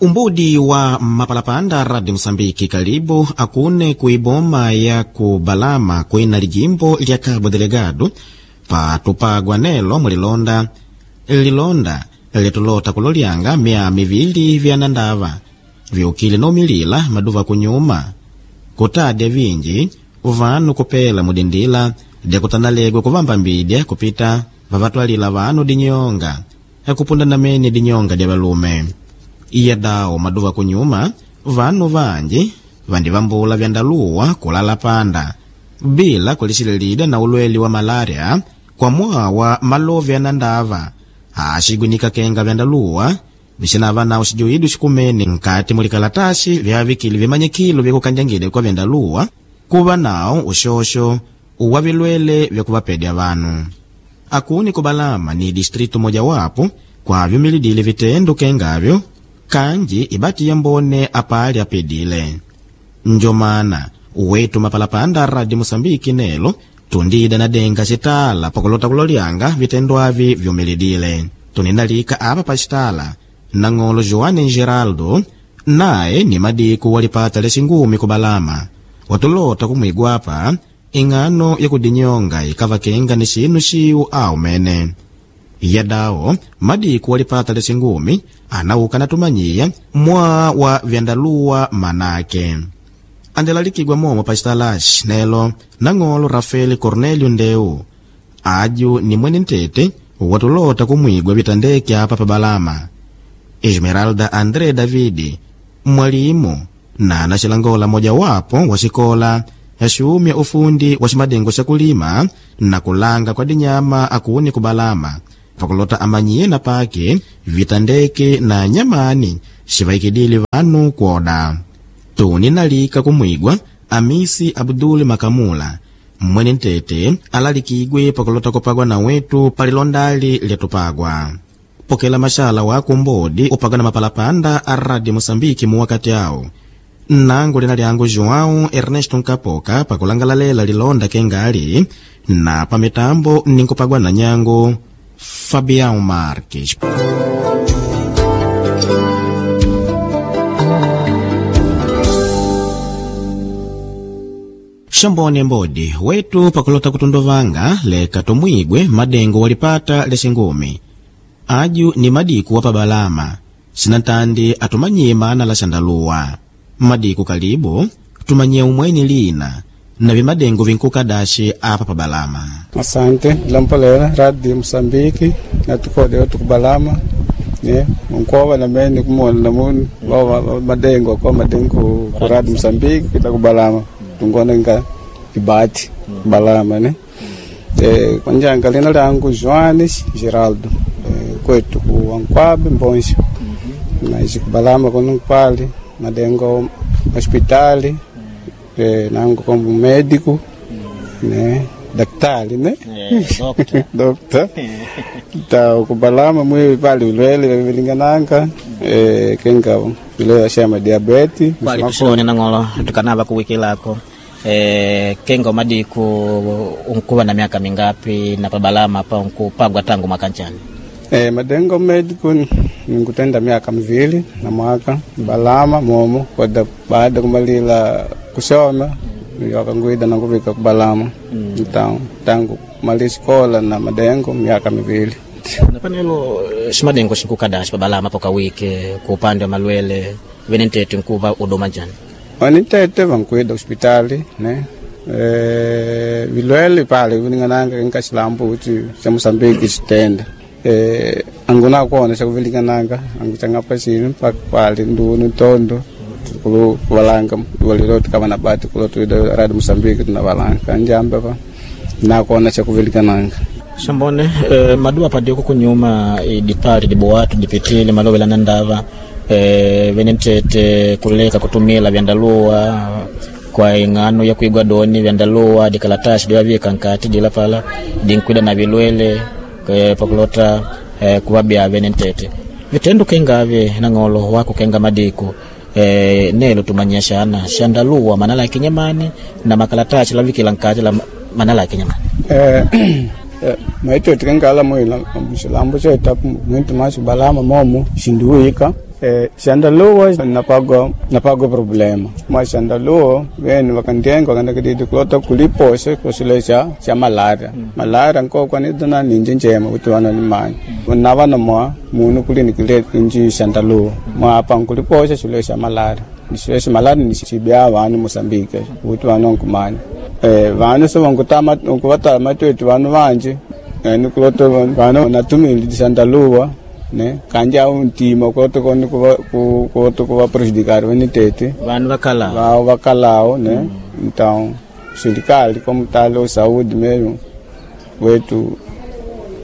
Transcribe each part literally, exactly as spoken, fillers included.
Umbudi wa mapalapanda Radio Mosambiki kalibu akune kuiboma ya kubalama kwina lijimbo lya Cabo Delgado patupagwa nelo mulilonda lilonda litulota kulolyanga mia mivili vyanandava viukile nomilila maduva kunyuma kutadya vinji vanu kupela mudindila dyakutanalegwa kuvamba mbidya kupita vavatwalila vanu dinyonga akupunda namene dinyonga dya valume. Iya dawo maduva kunyuma vanu vanji vandivambula vyandaluwa kulala panda bila kulixilelida na ulweli wa malaria kwa mwawa malovi anandava axigwinika kenga vyandaluwa vixinava nawo xijuidu xikumene nkati mulikalatasi vyavikile vimanyikilo vyakukanjangile kwa vyandaluwa kuva nawo uxoxo uwa vilwele vyakuvapedya vanu. Akuni kubalama ni distritu mojawapo kwavyumilidile vitendo kengavyo kanji ibati yambone apali apedile. Njomana uwetu mapalapanda Radio Mosambiki nelo tundida na denga citala pakulota kulolyanga vitendo avi vyumilidile. Tuninalika apa pacitala nang'olo Joane Geraldo naye ni madiku walipata lexingumi kubalama watulota kumwigwapa ing'ano yakudinyonga ikavakenga ni xinu xiwu awu mene. Yadawo madiku walipata lexingumi anauka natumanyiya mwa wa vyandaluwa manake. Andelalikigwa momo pacitalaxi nelo nang'olo Rafael Cornelio Ndeu aju ni mwene ntete watulota kumwigwa vitandeke apa pabalama. Esmeralda André Davidi mwalimu na anaxilangola mojawapo wa xikola yaxumya ufundi wa ximadengo xa kulima na kulanga kwa dinyama akuni kubalama pakulota amanyiye na pake vitandeke na nyamani xivaikidile vanu kwoda. Tuni nalika kumwigwa Amisi Abdul Makamula mwene ntete alalikigwe pakulota kupagwa na wetu palilondali lyatupagwa. Pokela maxala wako mbodi upagwa na mapalapanda a Radio Mosambiki muwakati awo. Nangu lina lyangu João Ernesto Nkapoka pakulangalalela lilonda kengali na pamitambo ninkupagwa na nyangu Fabião Marques. Xambone mbodi wetu pakulota kutunduvanga leka tumwigwe madengo walipata lexingumi aju ni madiku wa pabalama sinatandi atumanyiye mana la xandaluwa. Madiku kalibu tumanyiye umweni lina na vimadengo vinkukadaxi apa pabalama. Asante lampolera Radio Mosambiki natukode tukubalama ne nkova na mene kumona namuni wa madengo kwa madengo ku Radio Mosambiki kita kubalama tungona nga ibati balama ne eh kwanjanga lina langu Joanes Geraldo eh, kwetu ku Ankwabe Mbonjo na kubalama kono pali madengo hospitali eh, nangu como médico né daktari né Yeah, doctor ta kubalama mwi pali ulwele vilingananga eh, kenga ile ashama diabeti Kwali tuxone nang'olo tukanava kuwikilako eh, kenga madiku unkuva na miaka mingapi na pabalama pa unkupagwa tangu mwaka nchani? Eh, madengo medico nikutenda miaka mivili na mwaka balama momo kwada baada kumalila kusoma wakanguida na kuvika kubalama mm. Então, tangu kumaliza escola na madengo miaka mivili. Napanelo ximadengo xinkukadaxi pabalama pokawike ku upande wa malwele vene ntete nkuva udoma njani? Wanitete vankuida hospitali ne eh, vilwele pale vilingananga nkaxilambo kuti xa Mosambiki xitenda eh, anguna kuona xakuvilingananga angu changapa xini mpaka pali ndunu ntondo kulu valanga walilo tukava na bati kulo tuida Radio Mosambiki tuna valanga kanjamba pa nakona xakuvilingananga. Xambone eh, maduwa padioko kunyuma idipali dibuwatu dipitile malovela na ndava eh, vene ntete kuleka kutumila vyandaluwa kwa ing'ano ya kuigwa doni vyandaluwa dikalatasi diwavika nkati dila pala dinkwida na vilwele eh, pakulota eh, kuvabya vene ntete vitendo kengave nang'olo wako kenga madiku eh, nelo tumanyia xana xandaluwa manala ya kinyamani na makalatasi lavikila nkati la manala ya kinyamani. Eh, eh, maito tikangala mwila muxilambo xeta muito mais balama momo xindiwika Eh, xandaluwa napagwa napagwa problema mwa xandaluwa vene vakandienga vakandakididi kulota kuliposha kusule xa xa malaria malaria nkokwanidana ninji njema kuti vana nimanya na vana mwa munu kulinikile inji xandaluwa mwa apa nkuliposha xule xa malaria xule xa malaria ni xibya vanu Moçambique kuti vana nkumanya eh, vanu so vankutama nkuvatala matwetu vanu vanji yani kulota vanu natumili xandaluwa ne kanja au ntima kuloto koni kuva ku kuloto kuva prejudicar vene tete vanu vakala vao vakalao ne então serikali como talo saúde mesmo wetu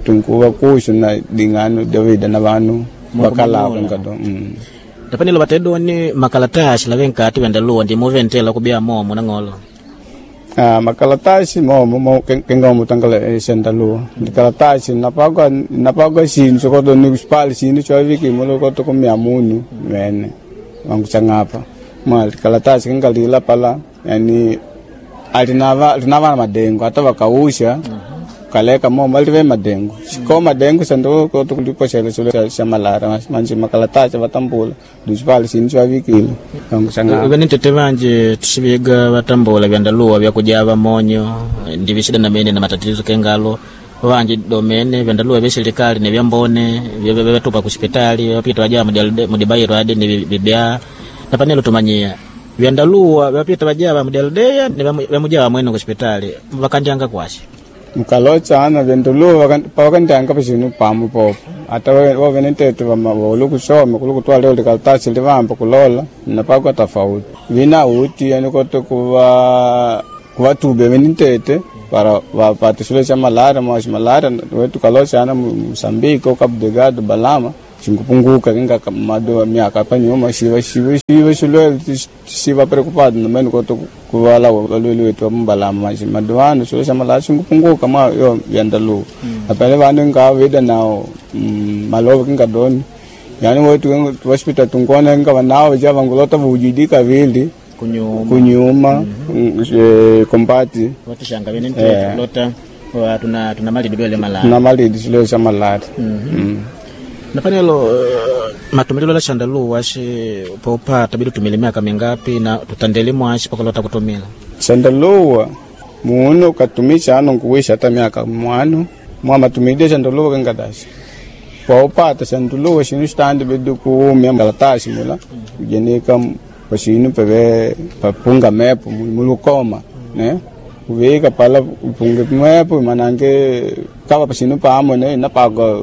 tunkuva kuxo na dingano davida na vanu vakalao nkado mm. tapanilo vatedoni makalatasi lave nkati vyandaluwa ndimuventela kubia momo nang'olo Ah, makalatasi momo mo kenga tangala xandaluwa ndikalatasi napagwa napagwa xinu xokoto ni xipali xinu xo viki mulo koto kumia munu mene wanguchang'apa mwa likalatasi kengalila pala yani alinava linava madengo ata vakausha kaleka momo alive madengo xiko madengo xando koto kulipoxela xilo xa- xa malara manje makalatasi vatambula ndixipali xinu xo vikile wanguchang'apa vene tete vanje tuxiviga vatambula vyandaluwa vyakujava monyo ndivixida namene na matatizo kengalo vanje domene vyandaluwa vya serikali ni vyambone vyatupa kuxipitali vapita vajava mudibairo adi ni vibya napanelo tumanyia vyandaluwa vyapita vajava mudialdeya ni vyamujava mwene kuxipitali vakandyanga kwaxi mukalochana vyenduluwa pavakandyanga paxinu pamu popo ata wovene ntetu volu kusoma kulu kutwala leo likalatasi livamba kulola napakwa tofauti vina uti yani kote kuva kuvatube vene ntete para vapate xilo xa malaria mwaxi malaria wetu kalochana Moçambique ou Cabo Delgado Balama xingupunguka kinga mado miaka panyuma xiva xiva xiva xilwele xiva preocupado namene koto kuvala valweli wetu va mbalama maxi madovano xilo xa malaria xingupunguka mwa yo yandaluwa apele vanu nga vida nao mm, malova kinga doni yani wetu hospital tungona nga vanao ja vangulota vujidika vili kunyuma kunyuma mm, eh, kombati vatixanga vene ntete lota wa, tuna tuna malidi lwele malala na malidi xilo xa malaria mm. napanelo uh, matumililo la xandaluwa xi popata bidi tumile miaka mingapi na tutandele mwaxi pakulota kutumila xandaluwa munu katumixa ano nkuwisha ata miaka mwanu mwa matumide xandaluwa kengataxi paupata xandaluwa xinu xitandi bidi kuumya kalatasi mula kujenika paxinu peve papunga mepo mulukoma ne uvika pala upunge mepo manange kava paxinu pamo ne napagwa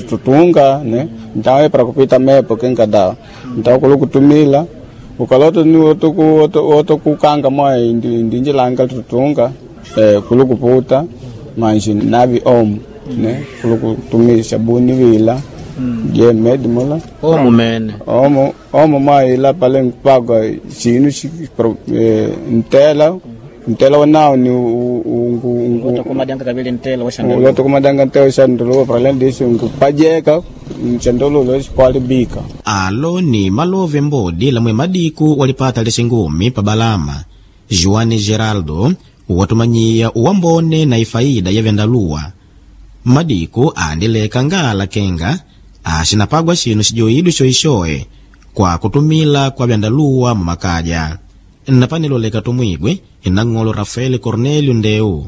tutunga ne então é para kupita mepo kenkada então kulu kutumila ukaloto ni oto ku oto, oto kukanga mwa indi ndinjilanga tutunga eh, kulu kuputa manji navi om ne kulu kutumila sabuni vila je med mula omu mene omo omo mwa ila pale nkupagwa xinu xi pro- eh, ntela ntela wanao ni u- u- ungu- ungu- lota kumadanga kavili ntela wa xandaluwa uloto kumadanga nteo xanduluwa para além disso nkupajeka xandululo xikwalibika alo ni malove mbodi lamwe madiku walipata lixingumi pa balama Juan Geraldo watumanyiya uwambone na ifaida ya vyandaluwa madiku andileka ngala kenga axinapagwa xinu xijoidwe xoixoe kwa kutumila kwa vyandaluwa mumakaja napanelo leka tumwigwe inang'olo Rafael Cornelio Ndeu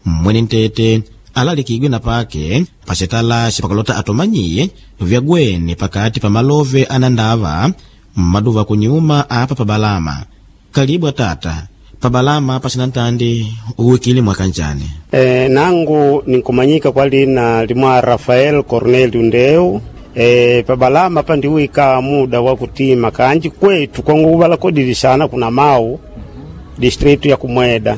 mwene ntete alalikidwe na pake pacitala xipakalota atumanyiye vyagwene pakati pa malove anandava mmaduva kunyuma apa pa balama kalibu atata pa balama pacina ntandi uwikile mwakanjani E, nangu ninkumanyika kwa lina limwa Rafael Cornelio Ndeu. E, pabalama pandiwika muda wa kutima kanji kwetu kongo kodilishana kuna mau distritu ya kumweda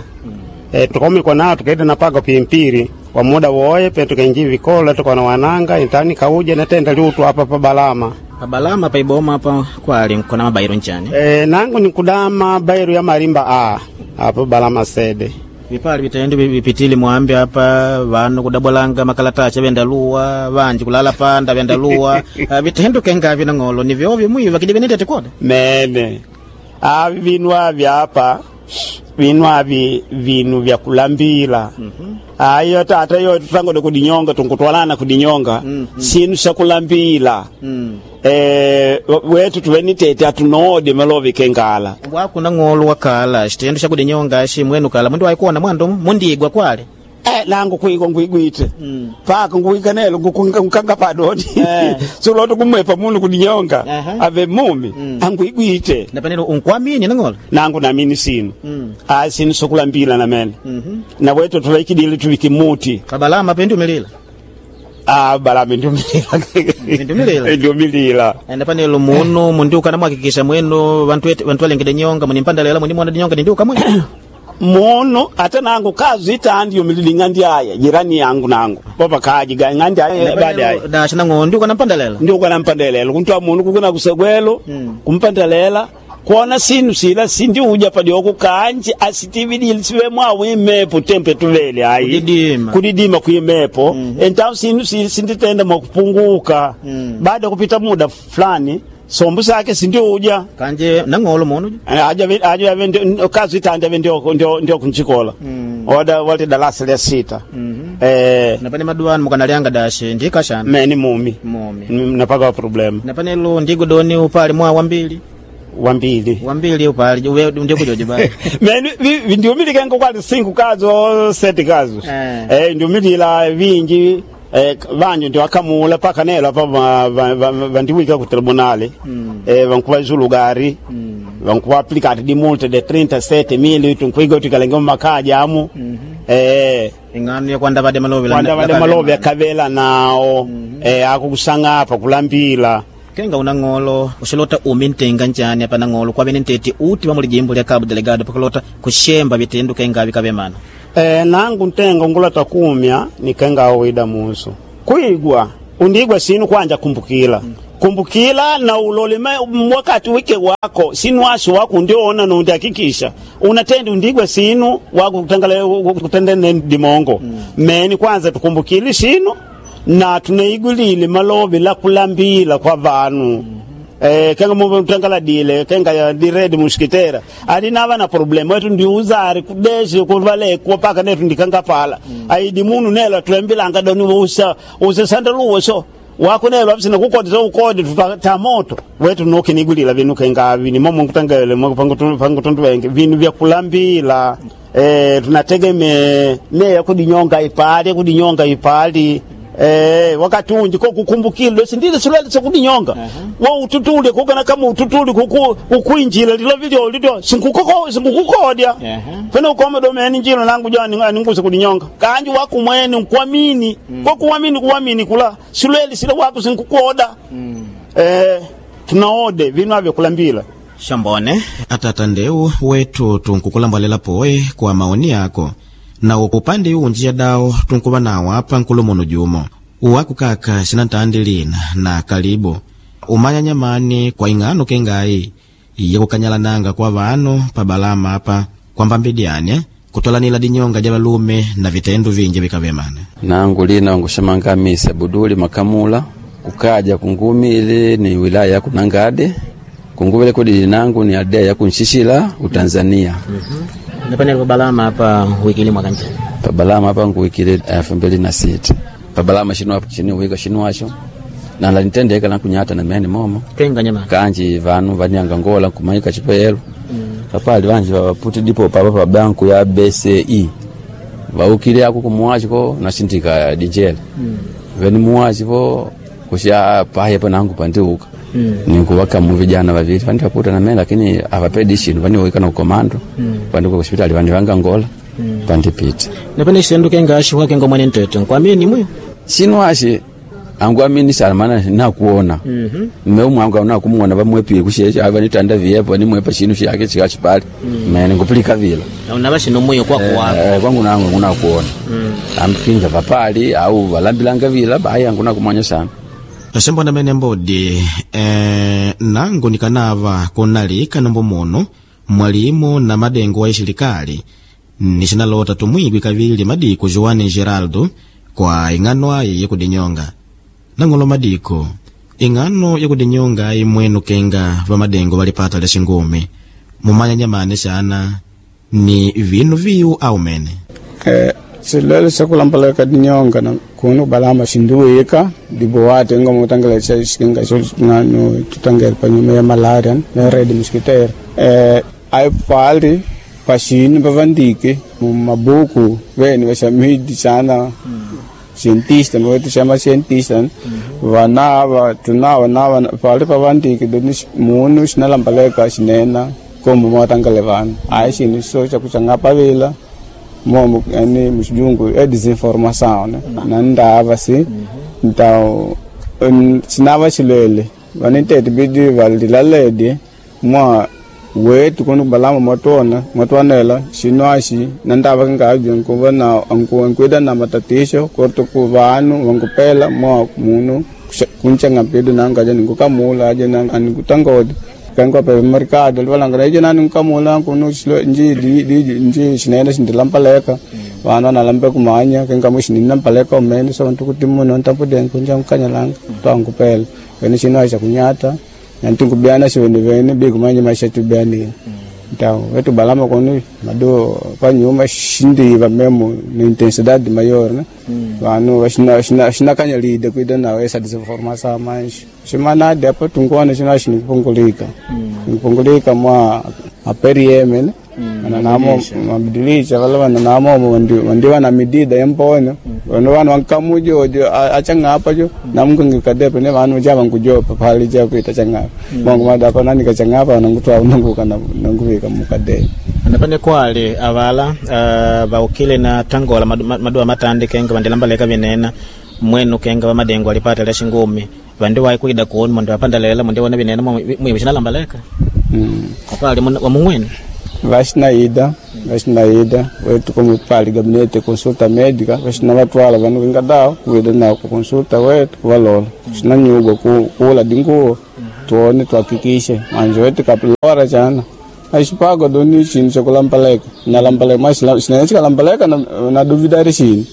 e, tukomikwa nao tukaida napaga pimpiri kwa muda woye pe tukainji vikola tukona wananga intani kauja natenda liutu apa pabalama pa balama pa iboma apa kwali nkona mabairo nchani e, nangu nikudama bairu ya marimba a apa balama sede vipali vitaendi vipitili mwambi apa vanu kudabwalanga makalatachi vyandaluwa vanji kulala panda vyandaluwa Ah, vitendo kengavi nang'olo ni vyovyo mwiva kidi venetete koda mene avi vinu avi apa Vinu avi vinu vya kulambila. Ayo tata yo tutangode kudinyonga, tunkutwalana kudinyonga. Sinu sha kulambila. Eh, wetu tuvenitete atunoode malovi kengala. Wakuna ng'olo wakala xitendo xa kudinyonga xi mwenu kala mundu waikuona mwandu mundigwa kwale. Eh, nangu kuiko nguigwite. Paka nguika nelo ngukanga padoni. Eh. Suloto kumwepa munu kudinyonga. Aha. Ave mumi anguigwite. Napanelo unkwamini nang'olo. Nangu namini sinu. Ah, sinu sokulambila namene. Na wetu tulaikidile tuviki muti. Kabalama pendi umilila. Ah, balami ndiumilila. Ndiumilila? Ndiumilila. Napanelo munu mundiuka namwakikisha mwenu vantu ete- vantu valengede nyonga munimpandalela munimona dinyonga nindiuka mwenu. Munu ate nangu kazi itandi yumilili ng'andi aya jirani yangu nangu popa kaji ga ng'andi aya baada aya Dasha nang'olo ndiuka nampandalela. ndiuka nampandelela kuntwa munu kukuna kusegwelo kumpandelela kuona sinu sila sindiuja padioko kanji asitividile sive mwawu imepo tempe tuvele ayi Kudidima. kudidima kuimepo mm -hmm. Entau sinu si- sinditenda mwakupunguka mm. Baada ya kupita muda fulani sombu sake sindiuja Kanje nang'olo munu. aja aja ave ndio- kazi itandi ave ndio ndio ndio kunchikola oda wali darasa lya sita eh Napane maduanu mukanalianga dashe ndikashana. meni mumi Mumi. Mm, napaka problem Napanelo ndigo doni upali mwa wambili. wambili Wambili upali uwe ndikujoje bali. meni vi- ndiumilikenko kwali cinco kazo sete kazo Eh. eh ndiumilila vingi eh, vanju ndio akamula paka nelo apa va- va- va- vandiwika ku tribunale eh vankuva zulugari vankuva applicati di multe de trinta e sette mila tunkuiga utikalenge mumakaja amu eh Ing'ano ya kwanda vade malovi la- kwanda vale la- malovi akavela nao eh akukusanga apa kulambila. Kenga una ng'olo uxilota umi ntenga njani apa na ng'olo kwavene ntete uti va muli jimbo lya Cabo Delgado pakulota kuxemba vitendo kenga vikavemana. E, nangu ntenga ngulata kumya nikenga awida muso kuigwa undigwa sinu kwanja kumbukila kumbukila na ulolema wakati wike wako sinu asu wako ndiona nundi hakikisha unatenda undigwa sinu wako kutangala kutendene dimongo meni kwanza tukumbukile sinu na tuneigulile malovi la kulambila kwa vanu. Eh, kenga mumbe mtangala dile kenga ya diredi mushikitera ali nava na problem wetu ndiuzari kudeshe kuvale kupaka netu ndikanga pala mm. Aidi munu nelo tulembilanga doni usa usa sandaluwo so wako nelo abisina kukodi so ukodi tuta moto wetu nokinigulila vinu kenga vini momo kutangele mo pangu tundu wenge vinu vya kulambila eh tunategeme ne kudinyonga ipali kudinyonga ipali. Eh, wakati unji ko kukumbukile sindile sulele sokudinyonga uh -huh. Wo ututule kukana kama ututule kuku kukuinjila lilo vilio lilo sinkukoko sinkukukodya uh -huh. Pena ukoma domeni njilo nangu jani nguse kudinyonga kanji wako mwene nkuamini mm. Ko kuamini kuamini kula sulele sile wako sinkukoda mm. Eh, tunaode vinu avyo kulambila. Shambone atata ndeu wetu tunkukulambalela poe kwa maoni yako na upande unji ya dao tunkuva nawo apa nkulumuno jumo uwaku kaka xinantandi lina na kalibu umanya nyamani kwa ing'ano kengayi yakukanyalananga kwa vanu pa balama apa kwambambidyane kutolanila dinyonga ja valume na vitendo vinji vikavemana. Nangu lina nguxamanga misa buduli makamula kukaja kungumi ili ni wilaya ya kunangade kunguvile kudili nangu ni aldea ya kunshishila utanzania. Napanelo balama apa wikili mwaka njani. Pabalama apa nguwikile elfu mbili na sita pabalama shinu apo chini wika shinu acho na lanitendeka nakunyata na mene momo Kenga nyamani. Kanji vanu vanyanga ngola kumaika chipeyelo papali vanji vaputi dipo papa pa banku ya B C E vaukile ako kumuwachi ko nashintika dijele veni muwachi vo kusha paye pa nangu pandiuka nikuvakamu vijana vavili vandi vaputa na mene lakini avapedi shinu vaniwika na ukomando vandikuka kuspitali vandi vanga ngola pandipita. Napene xitendo kenga xihwa kenga mwene ntete nkwamini mwiyo. Shinu ashi angu amini sana maana nakuona mm -hmm. Mwangu nakumuona vamwepile kushesha ava nitanda viepo nimwepa shinu shake chikachipali mm. Mene ngupilika vila Na unava xino mwiyo kwako wako. eh, kwangu nangu ngunakuona mm. Amkinga vapali au valambilanga vila bayi angu nakumwanya sana. Xembona mene mbodi eh, nangu nikanava kunalika nombo muno mwalimu na madengo wa ixilikali nixinalota tumwigwi kavili madiko Joane Geraldo kwa ing'ano ayi yakudinyonga. Nang'olo madiko ing'ano yakudinyonga ayi mwenu kenga va madengo valipata lya xingumi mumanya nyamani xana Ni vinu viyu au mene? Eh, xilwele xa ku lambaleka dinyonga na kunu balama xindiwika dibuwate nga mutangela xa xinga xo ngano tutangela panyuma ya malaria na red mosquito. Eh, ai pali paxini pavandike mu mabuku vene va midi sana cientista mo chama cientista vanava tunava nava pali pavandike doni munu xinalambaleka xinena como motangele vana ai xini so xa ku xangapavila momo yani muxijungu é desinformação, né? Na ndava si então sinava xilwele vanitete bidi valilaledi mwa wetu kunu balama mwatona mwatwanela xinwaxi na ndava kingaji nkuva na nkuida na matatisho korto ku vanu vankupela mwa munu kunchenga mpidu nangaja ninkukamula aje anikutangodi kango pe mercado livalanga leje nani nkamula kunu nji nji xinene xindilampaleka vana nalambe kumanya kenga muxinini nampaleka umene so ntukuti munhu ntampudeni kunja nkanyalanga twankupela wene xinwaxa kunyata nantinkubiana xivene bikumanya maxa tubianile então wetu balama kunu madu panyuma xindiva memo ni intensidade maior, né? Vanu xinakanyalide kuida nawo essa desinformação, mas ximanadi apa tunkuona xina xinipungulika nipungulika mwa aperieme, né? Namo mabadilisha vala vana namomo vandiva na midida yampono vanu vanu vankamujojo achang'apa jo namukangikadepe ne vanu ja vankujopa pali ja kuita chang'apa mongo madapa nani kachang'apa nangutwa nanguka nanguvika mukadeni. Anapane kwali avala uh, vaukile na tangola madua matandi kenga vandilambaleka vinena mwenu kenga vamadengo alipata lya xingumi vandi wai kuida kuonu mwandi vapandalela mwandi wona vinena mwivi xinalambaleka mm. Apali wamungwenu vaxinaida vaxinaida wetu como pali gabinete consulta médica vaxina vatwala vanu kingadao kuida nao ku consulta wetu kuvalola xina nyugwa kula dinguwo tuone tuhakikishe manje wetu kapilora chana axipago doni xinu xa kulampaleka nalampaleka mas xinene xikalambaleka na duvidari xini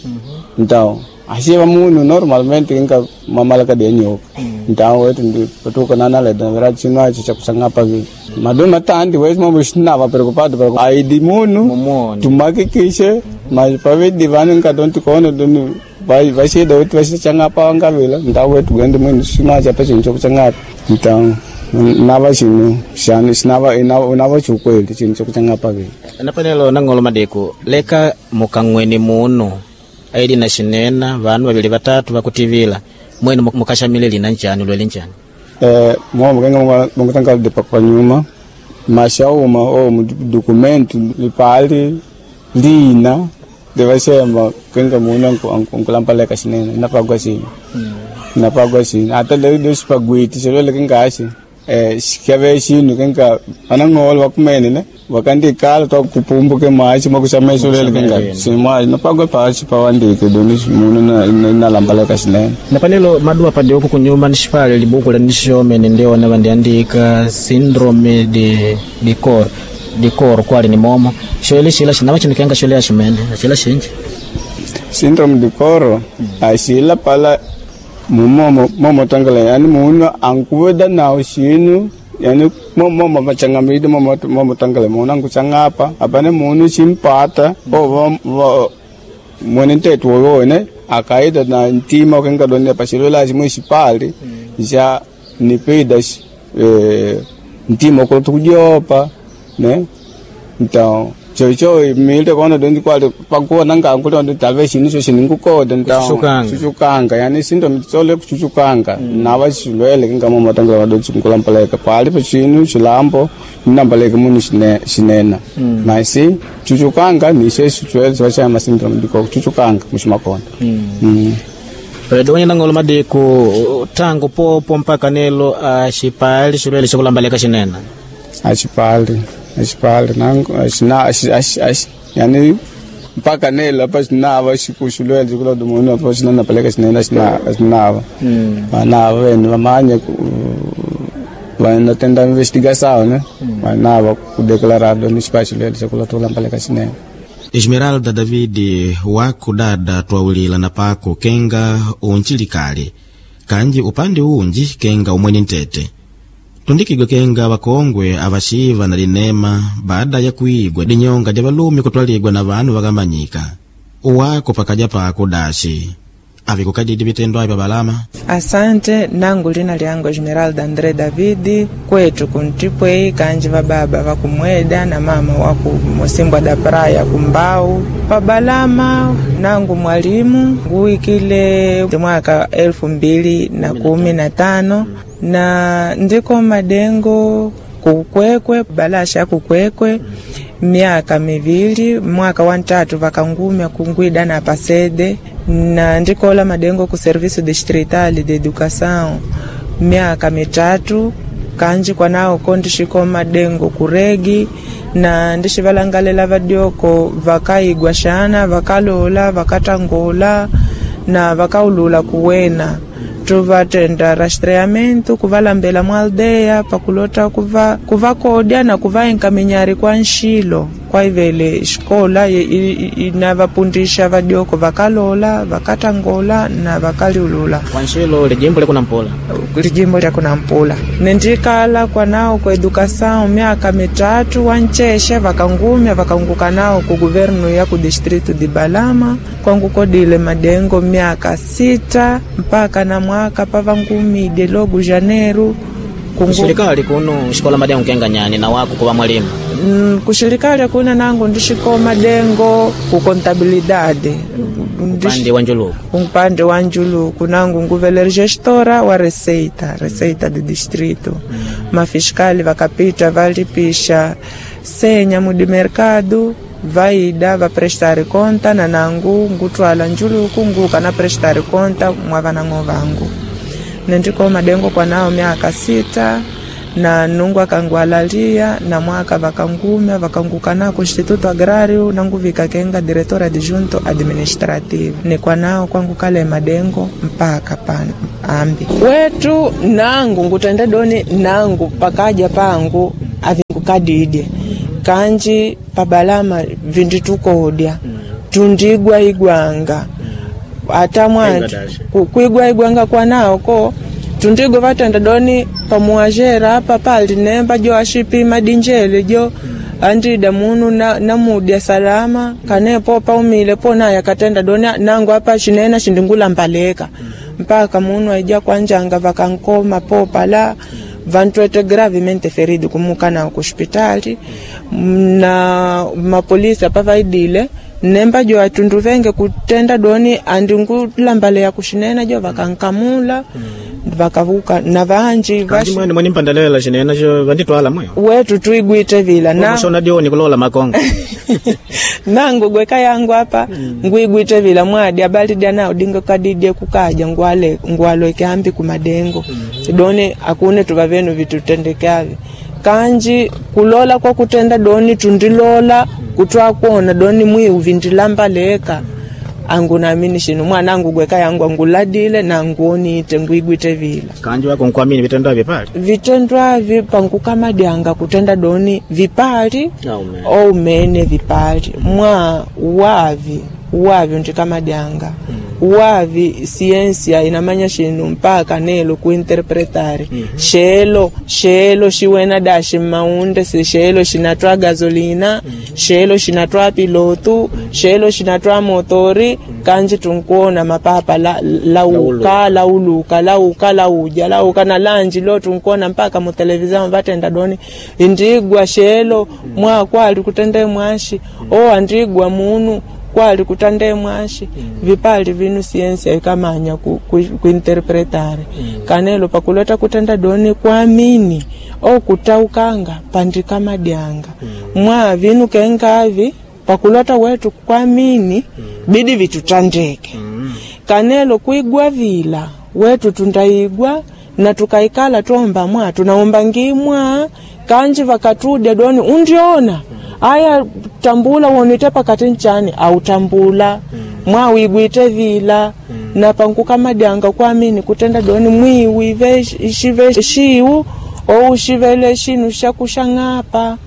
então axiva munhu normalmente kinga mamalaka de nyoka então wetu ndi patuka nanaleda na verdade xinu axo xa kusangapa vi madu matandi wetu mambo xinava preocupado para aidi munhu tumakikishe mas pavidi vanu nkadonti kono doni vaxida wetu vaxachangapa vangavila então wetu gende mwenu xinu axo apa xinu xa kuchangapa então nava xinu xanu xinava nava xukweli xinu xa kuchangapa vi napanelo nang'olo madiku leka mukang'weni munu aili na xinena vanu vavili vatatu vakutivila mwenu mukaxamile lina ncani lwele ncani? Eh, momo kenga mongotanga de pakpanyuma mashauma o documento lipali lina de vaxema kenga munu ankulampaleka xinene napagwa xini napagwa xini ata le le xipagwiti xilwele kengaxi eh xikave xinu kenga anang'olo vakumene ne vakandikala twa kupumbuke machi makuxamexo lele kenga xima napagwa paxi pawandike doni munu nalambaleka xinene. Napanelo madua pade uku kunyuma nixipale libuku la nixomene ndiona vandiandika syndrome de de cor de cor kwali ni momo xoele xila xinava xinu kenga xole aximene axila xinji syndrome de coro axila pala mumomo momo tangala yani munu ankuweda nawo xinu yani momo machangamide momo momo tangala munu ankuchangapa apane munu ximpata o va mwene ntetu woyone akaida na ntima kenga doni paxilola ximwe xipali xa nipida eh, ntima okolotu kujopa, né? Então chocho mile kono dondi kwali pakuona ngangu londo talvez xinu xo xiningukoda então Kuchuchukanga. chuchukanga yani syndrome tsole kuchuchukanga nava xilwele kinga momatangela vadoti nkulampaleka pali pa xinu xilambo ninambaleke munu xine- xinena masi chuchukanga ni xe xilwele xi va xa ma syndrome diko kuchuchukanga muximakonda Mm. Donya nang'olo madiku tangu popo mpaka nelo axipali xilwele xikulambaleka xinena? Axipali axipali nangu axina axi axi axi yani mpaka nelo apa xinava xiku xilwele xikulodo munu apa xinanapaleka xinene axina axinava vanava vene vamanya vanatenda investigação, né? Vanava kudeclarado ni xipa xilwele xakulotulampaleka xinene. Esmeralda David wakudada twawulila na pako kenga unchilikali kanji upande unji kenga umwene ntete Tundikigwe kenga wakongwe avashiva na linema baada ya kuigwa dinyonga ja valume kutwaligwa na vanu vakamanyika uwako pakaja pako dashi avikukadidi vitendo avi pabalama. Asante, nangu lina lyangu Esmeralda André Davidi, kwetu kuntipwei kanji vababa vakumweda na mama waku Mosimbwa da Praia kumbau pabalama. Nangu mwalimu nguwikile mwaka elfu mbili na kumi na tano na ndiko madengo kukwekwe balasha kukwekwe miaka mivili, mwaka wa ntatu vakangumya kungwida na pasede na ndikola madengo ku serviço distrital de educação miaka mitatu kanji kwanao ko ndishiko madengo kuregi na ndishivalangalela vadioko vakaigwa shana vakalola vakatangola na vakaulula kuwena tuvatenda rastreamento kuvalambela mwaldeya pakulota kuva kuvakodya na kuvaenkaminyari kwa nshilo kwaivele xikola inavapundisha vadioko vakalola vakatangola na vakaliulula Kwa nshilo lijimbo likunampula lijimbo lya kunampula nendikala kwanao ku educação miaka mitatu wancheshe vakangumya vakanguka nao ku guvernu ya ku distrito de Balama kwangukodile madengo miaka sita mpaka na mwaka pavangumide logu janeru Kungu- Kushirikali kuno xikola madengo kenga nyani na wako kuva mwalimu Mm, kushirikali kuna nangu ndishiko madengo ku contabilidade Ndish- upande wa njuluku upande wa njuluku nangu nguvele gestora wa receita receita de distrito mm. Mafiskali vakapita valipisha senya mudi mercado vaida vaprestare conta na nangu ngutwala njuluku nguka na prestare conta mwa vanang'o vangu nendiko madengo kwanao miaka sita na nungu akangwalalia na mwaka vakangumya vakanguka nako instituto agrario nanguvika kenga diretora adjunto administrative nikwanao kwangu kale madengo mpaka pano ambi wetu nangu ngutende doni nangu pakaja pangu avingukadidye kanji pabalama vinditukodya tundigwa igwanga ata mwantu Ku- kuigwa igwanga kwanao ko tundigo vatenda doni pamuwazhera apa pali nemba jo ashipima dinjele jo andida munu na, namudya salama kanepo paumile po naye akatenda doni nangu apa chinena shindingulambaleka mpaka munu aija kwanjanga vakankoma po pala vantwete gravemente feridi kumuka nao kushpitali na mapolisi apa vaidile nemba jo atundu venge kutenda doni andingulambalea kushinena jo vakankamula vakavuka na vanji kanji vashi mwene mwene mpandalela xinena xo vanditwala mweyo wetu tuigwite vila na shona dioni kulola makongo nangu gweka yangu apa ngwigwite vila mwadi abalidya nao dingo kadidye kukaja ngwale ngwalweke ambi kumadengo doni akune tuva venu vitutendekavi kanji kulola kwa kutenda doni tundilola kutwakuona doni mwiu vindilambaleka angu naamini shinu mwanangu gweka yangu anguladile na nguonite ngwigwite vila kanji wako nkuamini vitendo avyo pali vitendo avi pankukamadyanga kutenda doni vipali Aumene. oumene vipali mwa wavi wavi ndikamadyanga wavi siensia inamanya shinu mpaka nelo kuinterpretare shelo shelo shiwena dashi maunde si shelo shinatwa gasolina shelo shinatwa pilotu shelo shinatwa motori kanji tunkuona mapapa la, lauka lauluka lauka lauja lauka na lanji lo tunkuona mpaka mutelevizao vatenda doni indigwa shelo mwa kwali kutende mwashi o andigwa munu kwali kutande mwashi vipali vinu siensia ikamanya ku, ku, kuinterpretare kanelo pakulota kutenda doni kwamini o kutaukanga pandikamadyanga mwa vinu kengavi pakulota wetu kwamini bidi vitutandeke kanelo kuigwa vila wetu tundaigwa na tukaikala twomba mwa tunaomba ngimwa kanji vakatudya doni undiona aya tambula wonite pakati nchani autambula mwa wigwite vila na pankukamadyanga kwamini kutenda doni mwiwi ve shive shiu ou shivele shinu shakushang'apa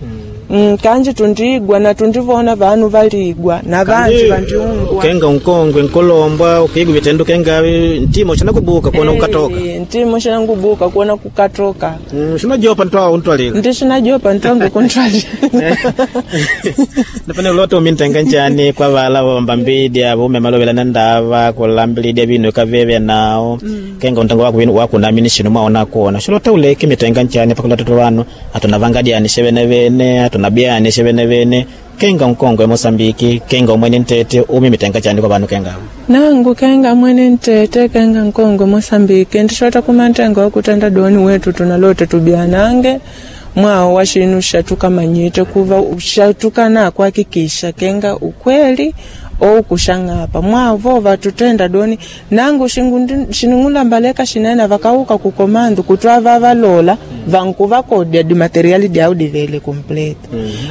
Mm, kanji tundigwa na tundivona vanu valigwa na vanji vandiungwa. Kenga unkongwe nkolombwa ukigwa vitendo kenga ntimo chinakubuka kuona kukatoka. Eh, ntimo xinangubuka kuona kukatoka. Mm, xinajopa ntwa untwalila. Ndi xinajopa ntwangu kuntwalila. Napane loto umintenga njani kwa vala vambambidi avo umemalowela na ndava kulambilidya vinu ikavevya nao kenga untengo wako vinu wakunamini shino mwaona kuona xilota uleke mitenga njani pakulota vanu atuna vangadiani xevenevene atuna biani xevenevene kenga nkongwe Mosambiki kenga umwene ntete umi mitenga chani kwa vanu kenga Nangu kenga mwene ntete kenga nkongwe Mosambiki ndixota kumantengo wakutenda doni wetu tunalote tubyanange mwawo wa xinu xatukamanyite kuva xatukana kuhakikisha kenga ukweli ou kuxang'apa mwavo vatutenda doni nangu xingu- xining'ulambaleka xinene vakauka kukomandu kutwa valola vankuvakodya dimateriali dyau divele complete.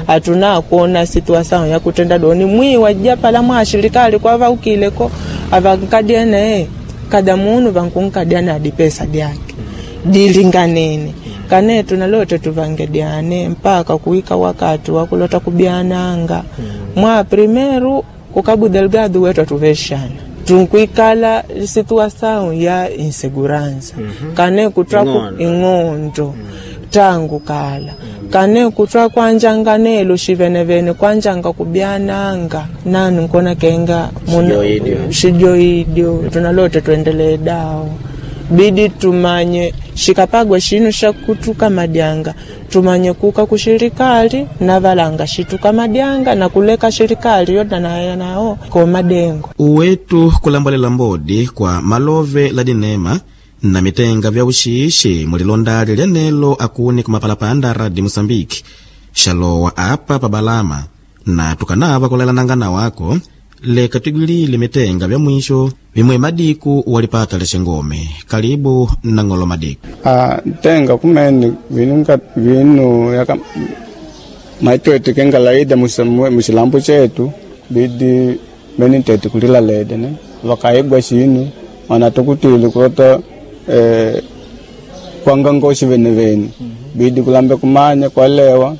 Hatuna kuona situação ya kutenda doni mwiwa japala mwa shirikali kwa vaukileko avankadiene kada munu vankunkadiana na dipesa dyake dilinganene kane tunalote tuvangediane mpaka kuika wakati wakulota kubyananga mwa primeiro ku Cabo Delgado wetu atuvexana tunkuikala situação ya insegurança kane kutwa ku- Ing'ondo. ing'ondo tangu kala kane kutwa kwanjanganelo xivenevene kwanjanga kubyananga nanu nkona kenga muna- Xijoidyo. xijoidyo tunalote tuendelee dawo bidi tumanye xikapagwa xinu xa kutuka madyanga tumanye kuka kuxirikali na valanga xituka madyanga na kuleka xirikali yoda nayo nawo ko madengo. Uwetu kulambalela mbodi kwa malove la dinema na mitenga vya uxiixi mulilondali lyanelo akuni kumapalapanda radi Moçambique xalowa apa pa Balama na tukanava kulelananga wako leka twigwilile mitenga vya mwisho vimwe madiku walipata lexengome karibu na ng'olo madiku. Ah, ntenga kumene vinu nga- vinu yaka maitwetu kenga laida musa- mu- muxilambo chetu bidi mene ntete kulila lede ne vakaigwa xinu mana tukutile kulota eh, kwanga ngoxi venevene bidi kulambe kumanya kwalewa.